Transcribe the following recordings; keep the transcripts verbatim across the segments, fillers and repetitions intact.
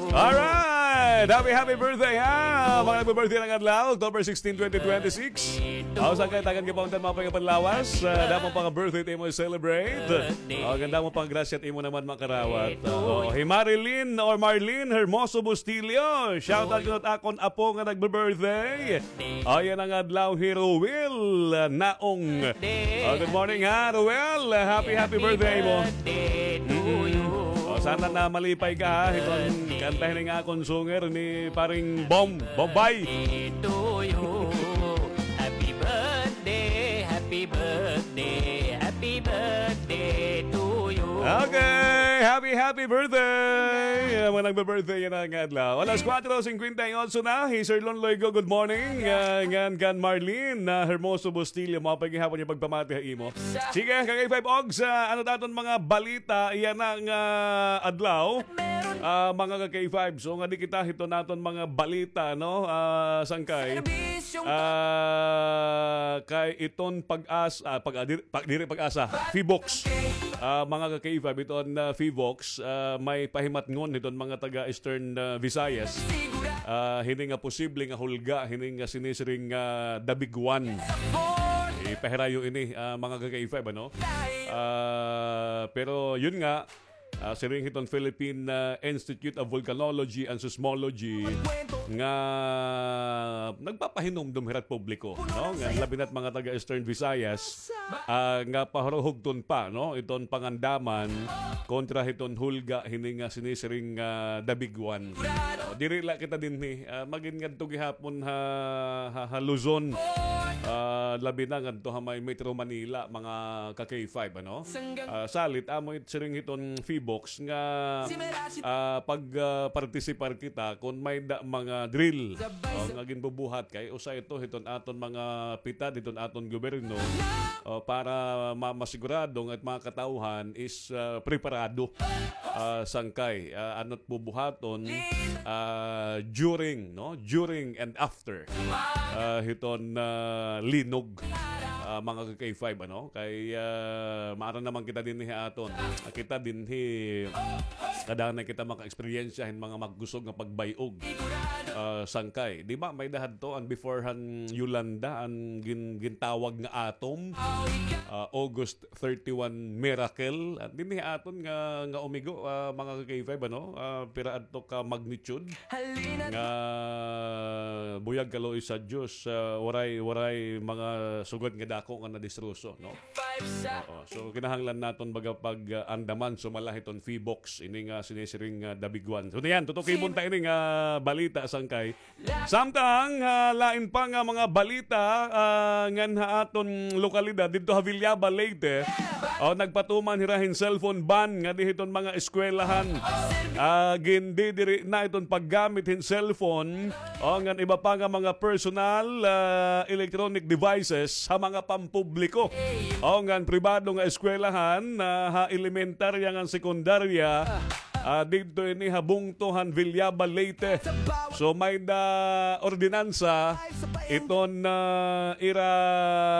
Alright! Happy, happy birthday, ha! Mga nagbe-birthday ngada adlaw, October sixteen, twenty twenty-six. Aw, sangkay, tagan ka pa unta hin maupay nga panlawas. Ah, damo pa nga birthday it imo i-celebrate. Aw, ganda mo pang grasya it imo naman makarawat. Oo, hi Marilyn or Marlene Hermoso Bustillo. Shout out kuno it akon apo nga nagbe-birthday. Ayan an adlaw hi Ruel, ah, Naong. Oh, good morning, ha, Ruel. Happy, happy birthday mo. Mm-mm. Oh, sana na malipay ka, ha. Iton kanta hini nga akon sunger ni paring Bom, Bombay. Okay, happy, happy birthday! Mga nagbe-birthday yana nga adlaw. Alas kwatro singkwenta y otso na. Hi Sir Lon Loigo, good morning. Ah, ngan kan Marlene, ah, Hermoso Bustillo, maupay gihapon it pagpamati ha imo. Sige, ka-K five Ogs, ah, ano it aton mga balita yana nga adlaw? Ah, mga ka-K five, so ngadi kita hiton aton mga balita, no? Ah, sangkay. Ah, kay iton Pag-asa, ah, pag, ah, diri, pag, diri Pag-asa, Fivox. Ah, mga ka-K five, iton, ah, Fivox, ah, may pahimatngon hiton mga taga Eastern, ah, Visayas. Ah, hini nga posible nga hulga, hini nga sinisiring nga The Big One. Ipahirayo ini, ah, mga ka-K five, ano? Ah, pero yun nga, ah, siring hiton Philippine, ah, Institute of Volcanology and Seismology nga nagpapahinumdom hira it publiko, no? Nga labi na it mga taga Eastern Visayas, ah, nga pahuruhugton pa, no? Iton pangandaman kontra hiton hulga hini nga sinisiring nga The Big One. O, diri la kita dinhi, ah, magin ngadto gihapon ha, ha, ha Luzon. Ah, labi na ngadto ha may Metro Manila, mga ka-K five, ano? Ah, salit, amo it siring hiton Fivox nga, ah, pag, ah, partisipar kita kon may-ada mga drill, o, nga ginbubuhat kay usa ito hiton aton mga pitad, hiton aton gobyerno, o, para ma-, masigurado nga it mga katawhan is, ah, preparado, ah, sangkay, ah, ano it bubuhaton, ah, during, no? During and after, ah, hiton, ah, linog, ah, mga ka-K five, ano? Kay, ah, maaram naman kita dinhi ha aton. Ah, kita dinhi, kadaan na kita maka-eksperyensya hin mga magkusog nga pagbay-og, ah, sangkay. Di ba, may-ada hadto an before han Yolanda, an gin-, gintawag nga atom, ah, August thirty-one miracle. At dinhi aton nga, nga umigo, ah, mga ka-K five, ano? Ah, pira adto ka magnitude nga buyag kaluoy sa Diyos, ah, waray, waray mga sugad nga dako nga nadistroso, no? Oo. So, kinahanglan naton baga pag, ah, andaman, sumala hiton Fivox, ini nga sinisiring nga The Big One. So, yan, tutukibon ta ini nga balita, sangkay. Samtang, ah, lain pa nga mga balita, ah, ngan ha aton lokalidad, didto ha Villaba, Leyte, o, nagpatuman hira hin cellphone ban ngadi hiton mga eskwelahan. Ah, gindidiri na iton paggamit hin cellphone, o, ngan iba pa nga mga personal, ah, electronic devices ha mga pampubliko, o, ngan pribado nga eskwelahan, ah, ha elementarya ngan sekundarya. Ah, didto ini ha bungto han Villaba, Leyte. So, may-ada ordinansa iton, ah, ira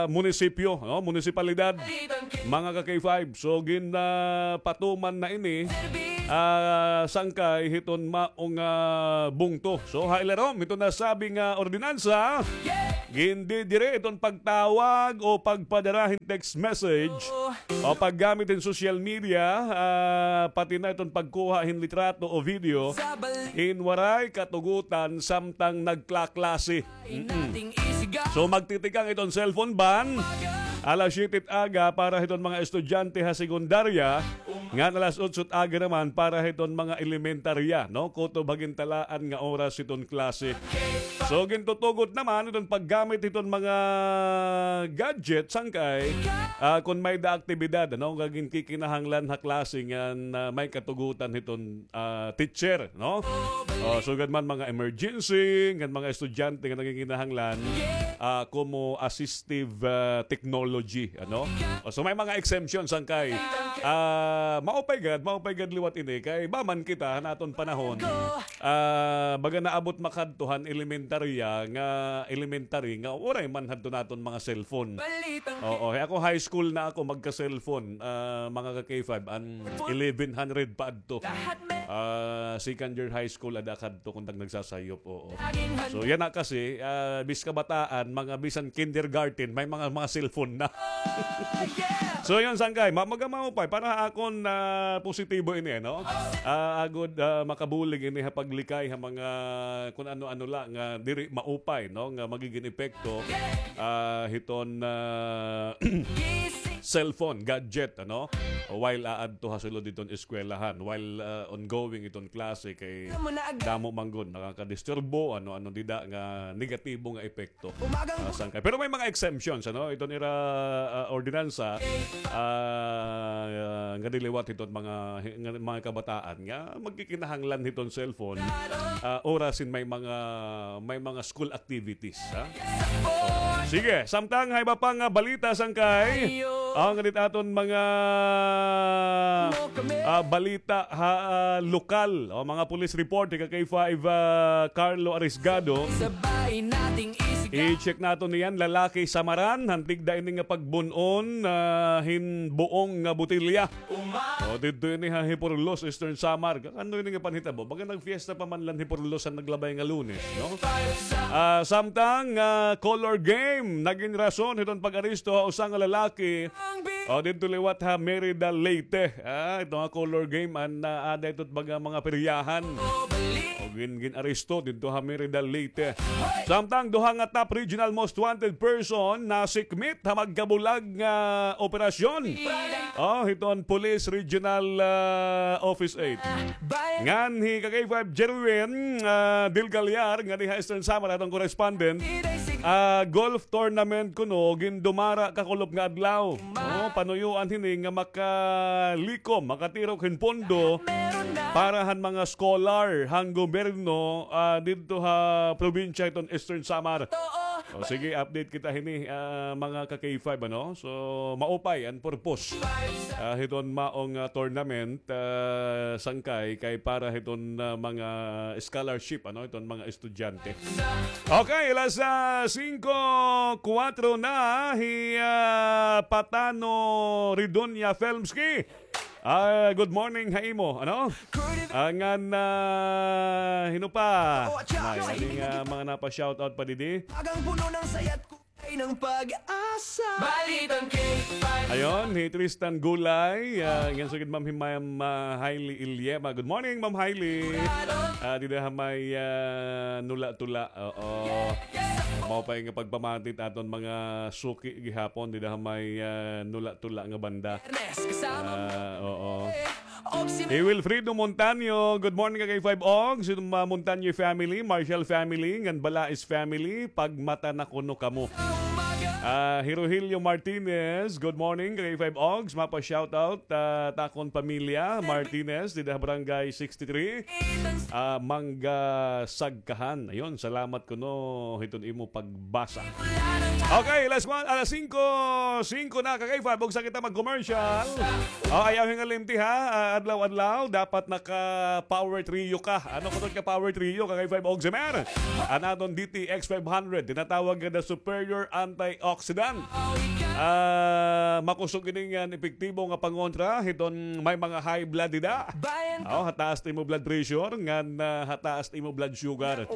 munisipyo, no? Munisipalidad, mga ka-K five. So, gin, ah, patuman na ini, ah, sangkay hiton maong, ah, bungto. So, ha ilarom hiton nasabi nga ordinansa, gindidiri iton pagtawag o pagpadara hin text message o paggamit hin social media, ah, pati na iton pagkuha hin litrato o video hin waray katugutan samtang nagklaklase. Mm-mm. So, magtitikang iton cellphone ban alas siyete it aga para hiton mga estudyante ha sekundarya, ngan alas otso it aga naman para hiton mga elementarya, no? Kutob ha gintalaan nga oras hiton klase. So, gintutugot naman iton paggamit hiton mga gadget, sangkay, ah, kon may-ada aktibidad, ano, nga ginkikinahanglan ha klase ngan, ah, may katugutan hiton, ah, teacher, no? O, sugad man mga emergency, ngan mga estudyante nga nanginginahanglan, ah, como assistive, ah, technology, ano? O, so may mga exemption, sangkay. Ah, maupay gad, maupay gad liwat ini kay ba man kita han aton panahon. Ah, baga naabot makadto han elementarya nga, elementary nga waray man hadto naton mga cellphone. Oo, eh, ako high school na ako magka-cellphone, ah, mga ka-K five, an eleven hundred pa adto. Ah, second year high school ada kadto kun nag-, nagsasayop, oo. So, yana kasi, ah, bis kabataan, mga bisan kindergarten, may mga, mga cellphone na. So, yun, sangkay, ma-, maga-, maupay, para ha akon, ah, positibo ini, no? Ah, agod, ah, makabulig ini ha paglikay ha mga kun ano-ano la nga diri maupay, no? Nga magigin epekto, ah, hiton, ah, cellphone, gadget, ano? While aadto ha sulod hiton eskwelahan, while, ah, ongoing iton klase, kay damo man gud nakakadisturbo, ano-ano dida nga negatibo nga epekto. Ah, sangkay. Pero may mga exemptions, ano? Iton ira, ah, ordinansa, ah, nga diliwat hiton mga, nga mga kabataan nga magkikinahanglan hiton cellphone, ah, oras hin may mga, may mga school activities, ha? Sige, samtang ha iba pa nga balita, sangkay. Ang nganit aton mga, ah, balita ha, ah, lokal. O, mga police report, ika K five, ah, Carlo Arisgado. I-check naton niyan, lalaki Samaran, han tigda ini nga pagbun-on, ah, hin buong nga botelya. O, didto ini ha Hipurlos, Eastern Samar. Ano ini nga panhitabo? Baga nagfiesta pa man la han Hipurlos han naglabay nga Lunes, no? Ah, samtang, ah, color game, nagin rason hiton pag-aresto ha usa nga lalaki. O, didto liwat ha Merida, Leyte. Ah, ito nga color game, an, ah, ada ito baga mga peryahan. O, gin, gin-aresto didto ha Merida, Leyte. Samtang duha nga top regional most wanted person nasikmit ha magkabulag nga operasyon. O, hiton Police Regional, ah, Office eight. Ngan hi ka K five Jerwin, ah, Del Gallar, nga diha Eastern Samar, aton correspondent. Ah, golf tournament kuno, gindumara kakulop nga adlaw. O, panuyoan hini nga makalikom, makatirok hin pondo para han mga scholar han gobyerno, ah, didto ha probinsya hiton Eastern Samar. O, sige, update kita hini, ah, mga ka K five, ano? So, maupay an purpose, ah, hiton maong, ah, tournament, ah, sangkay kay para hiton, ah, mga scholarship, ano, hiton mga estudyante. Okay, alas, ah, singko kuwatro na, hi, ah, Patano Ridonia Filmski. Ah, good morning ha imo, ano? Ah, ngan, ah, hin-o pa? May, ano nga mga napa-shoutout pa didi? Ayon, hi Tristan Gulay, ah, ngan sugad Ma'am Himay-, Ma'am, ah, Hailey Ilyema. Good morning, Ma'am Hailey. Ah, dida ha may, ah, Nula-Tula. Oo. Maupay nga pagpamati hit aton mga suki gihapon dida ha may, ah, Nula-Tula nga banda. Ah, oo. Hi Wilfredo Montaño, good morning ka K five Og, sa mga Montaño family, Marshall family, ngan Balais family, pagmata na kuno kamo. Ah, hi Rogelio Martinez, good morning ka K five Ogs, mapa-shoutout, ah, ha akon pamilya, Martinez, dida ha Barangay sixty-three, ah, Mangga Sagkahan. Ayun, salamat kuno hiton imo pagbasa. Okay, last one, alas singko, singko na, ka K five, bugsa kita mag-commercial. O, ayaw hingalimti, ha? Ah, adlaw-adlaw, dapat naka-power trio ka. Ano kuno ka power trio, ka K five Ogs, Emer? An aton D T X five hundred, tinatawag nga the superior antioxidant. Ah, makusog ini nga epektibo nga pangontra hiton may mga high blood dida. O, hataas it imo blood pressure, ngan, ah, hataas it imo blood sugar.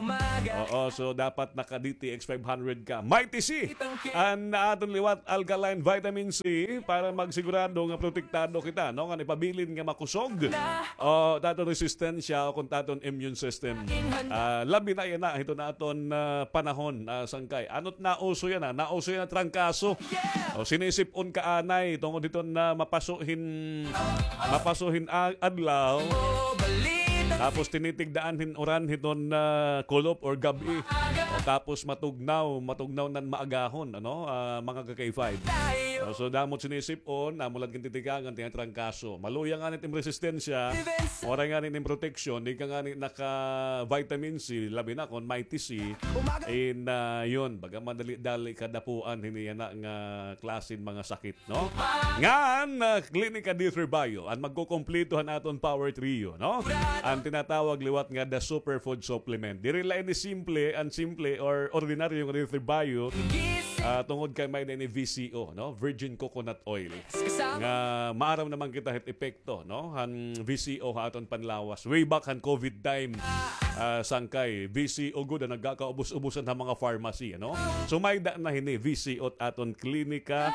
Oo, so dapat naka-D T X five hundred ka. Mighty C, an aton liwat alkaline vitamin C para magsigurado nga protektado kita, no? Ngan ipabilin nga makusog o it aton resistensya o kon it aton immune system. Ah, labi na yana hiton aton, ah, panahon, ah, sangkay. Ano it nauso yana? Nauso yana trangkaso. O, sinisip-on ka anay tungod hiton nga mapaso hin, mapaso hin a-, adlaw. Tapos tinitigdaan hin uran hiton, ah, kulop or gab-i. O, tapos matugnaw, matugnaw nan maagahon, ano, ah, mga ka-K five. O, so, damo it sinisip-on, amo la it gintitikang, an tinatrangkaso. Maluya ngani it im resistensya, waray ngani it im proteksyon, di ka ngani naka-vitamin C, labi na kon Mighty C, in, ah, yun, baga madali-dali ka dapuan, hini yana nga klase hin mga sakit, no? Ngan, ah, Klinika D three Bio, an magkukumpleto han aton power trio, no? An tinatawag liwat nga the superfood supplement. Diri la ini simple, an simple or ordinaryo nga D three Bio, ah, tungod kay may-ada ini V C O, no? Virgin coconut oil. Nga maaram naman kita hit epekto, no? Han V C O ha aton panlawas. Way back han COVID time, ah, sangkay V C O gud an nagkakaubos-ubosan ha mga pharmacy, ano? So, may-ada na hini V C O it aton Klinika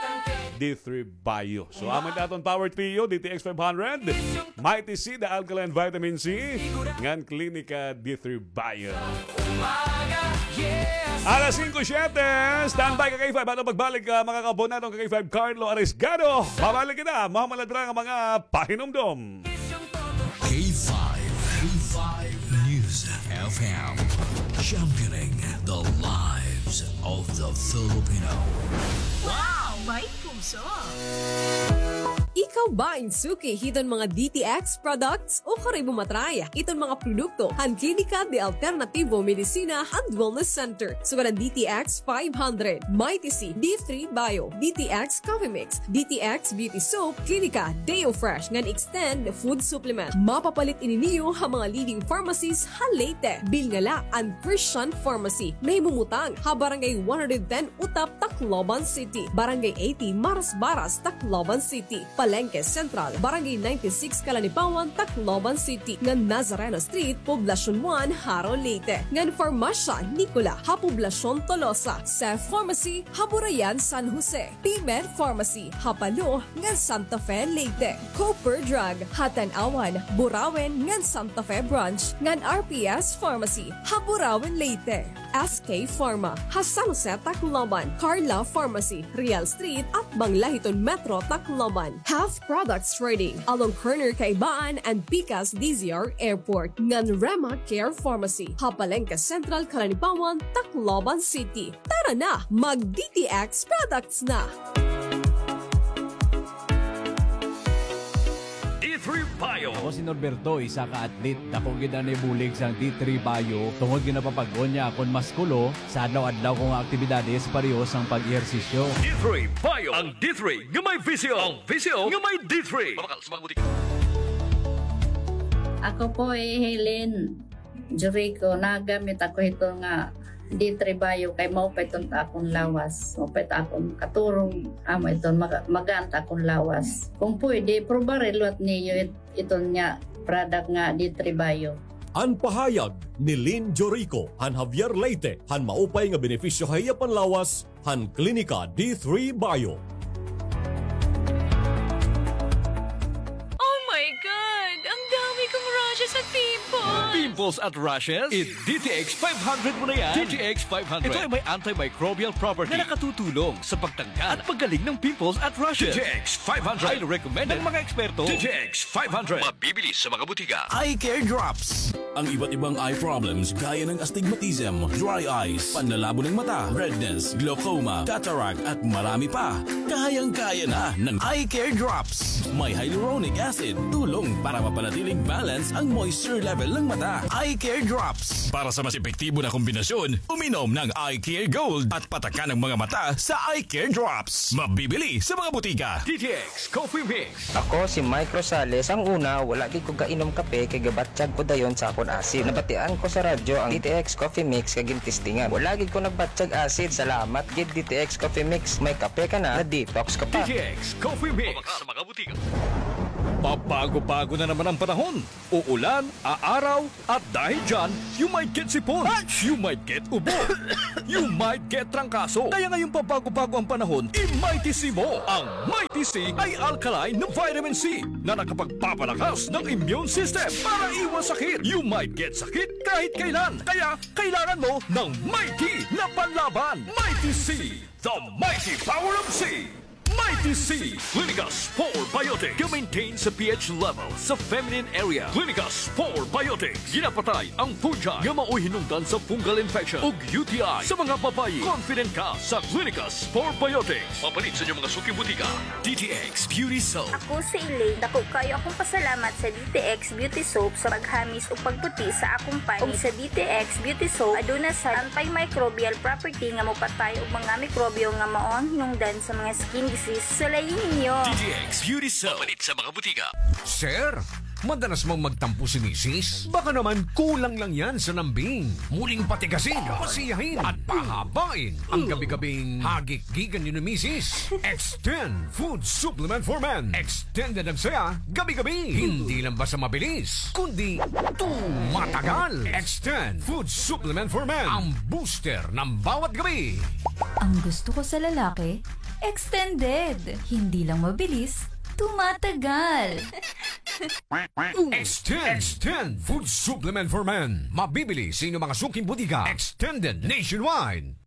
D three Bio. So, amo it aton Power Trio, D T X five hundred, Mighty C, the alkaline vitamin C, ngan Klinika D three Bio. Alas singko siyete, standby ka K five. Aton pagbalik, ah, mga kaabonado ka K five, Carlo Arisgado. Babalik kita, mamaladra nga mga pahinumdom. K five, K five News F M, championing the lives of the Filipino. Wow! May puso! Ikaw ba in suki hiton mga D T X products? O kari mo matry iton mga produkto han Klinika de Alternativo Medicina and Wellness Center. Sugad an D T X five hundred, Mighty C, D three Bio, D T X Coffee Mix, D T X Beauty Soap, Klinika Deo Fresh ngan Extend Food Supplement. Mapapalit ini niyo ha mga leading pharmacies ha Leyte. Bilnga la an Christian Pharmacy, nahimumutang ha Barangay one hundred ten Utap, Tacloban City, Barangay eighty Marasbaras, Tacloban City, Palenque Central, Barangay ninety-six Calanipawan, Tacloban City, ngan Nazareno Street, Poblacion one, Jaro, Leyte, ngan Farmacia Nicola ha Poblacion Tolosa, Seth Pharmacy ha Burayan, San Jose, P-Med Pharmacy ha Palo ngan Santa Fe, Leyte, Cooper Drug ha Tanauan, Burauen ngan Santa Fe Branch, ngan R P S Pharmacy ha Burauen, Leyte. S K Pharma ha San Jose, Tacloban, Carla Pharmacy, Real Street, atbang la hiton Metro Tacloban, Health Products Trading, along corner Kaibaan and Pikas D Z R Airport, ngan Rema Care Pharmacy ha Palenque Central, Calanipawan, Tacloban City. Tara na, mag D T X products na! D three Bio. Ako si Norberto, isa ka athlete. Dako gid an ibulig sang D three Bio tungod nga napapag-on niya akon maskulo. Sa adlaw-adlaw ko nga aktibidades, pareho sang pag-ehersisyo. D three Bio. Ang D three nga may V C O. Ang V C O nga may D three. Mabakal sa mga butika. Ako po, eh, Helen. Jericho, nagamit ako hiton nga D three Bio kay maupay iton ta akon lawas. Maupay ta akon katurog, amo iton maga-, magaan ta akon lawas. Kung pwede, probari liwat niyo it-, iton nga product nga D three Bio. An pahayag ni Lynn Jorico han Javier, Leyte, han maupay nga benepisyo ha iya panlawas, han Klinika D three Bio. Oh my God! Ang dami kong rashes at pimples! Pimples at rashes? I-D T X five hundred mo na yan. D T X five hundred. Ito ay may antimicrobial property na nakatutulong sa pagtanggal at paggaling ng pimples at rashes. D T X five hundred. Highly recommended ng mga eksperto. D T X five hundred. Mabibili sa mga butika. Eye Care Drops. Ang iba't ibang eye problems gaya ng astigmatism, dry eyes, panlalabo ng mata, redness, glaucoma, cataract, at marami pa. Kayang-kaya na ng Eye Care Drops. May hyaluronic acid, tulong para mapanatiling balance ang moisture level ng mata. Eye Care Drops. Para sa mas epektibo na kombinasyon, uminom ng Eye Care Gold at patakan ang mga mata sa Eye Care Drops. Mabibili sa mga butika. D T X Coffee Mix. Ako si Mike Rosales. Ang una, wala gid ko gainom kape kay gabatyag ko dayon sa akon asid. Nabatian ko sa radyo ang D T X Coffee Mix kay gintestingan. Wala gid ko nagbatyag asid. Salamat gid D T X Coffee Mix. May kape ka na, na-detox ka pa. D T X Coffee Mix. Sa mga butika. Pabago-bago na naman ang panahon. Uulan, aaraw, at dahil dyan, you might get sipon, you might get ubo, you might get trangkaso. Kaya ngayong pabago-bago ang panahon, i-Mighty C mo. Ang Mighty C ay alkaline na vitamin C na nakapagpapalakas ng immune system para iwas sakit. You might get sakit kahit kailan. Kaya kailangan mo ng Mighty na panlaban. Mighty C, the mighty power of C. Mighty C, Clinicas Probiotics, ga-maintain sa pH level sa feminine area. Clinicas Probiotics, ginapatay ang fungi nga maoy hinungdan sa fungal infection ug U T I sa mga babayi. Confident ka sa Clinicas Probiotics. Mapalit sa inyong mga suking butika. D T X Beauty Soap. Ako si Elaine. Dako kaayo akong pasalamat sa D T X Beauty Soap sa paghamis ug pagputi sa akong panit. Ug sa D T X Beauty Soap, aduna sad antimicrobial property nga mopatay og mga mikrobyo nga mao ang hinungdan sa mga skin disease. Sulayi ninyo. D T X Beauty Soap. Mapalit sa mga butika. Sir, madalas mang magtampo si misis? Baka naman kulang lang yan sa lambing. Muling patigasin, pasiyahin, at pahabain ang gabi-gabing hagikgikan niyo ni misis. Extend Food Supplement for Men. Extended ang saya, gabi-gabi. Hindi lang basta mabilis, kundi tumatagal. Extend Food Supplement for Men. Ang booster ng bawat gabi. Ang gusto ko sa lalaki, extended. Hindi lang mabilis, tumatagal. Extend, Extend Food Supplement for Men. Mabibili sa inyong mga suking butika. Extended nationwide.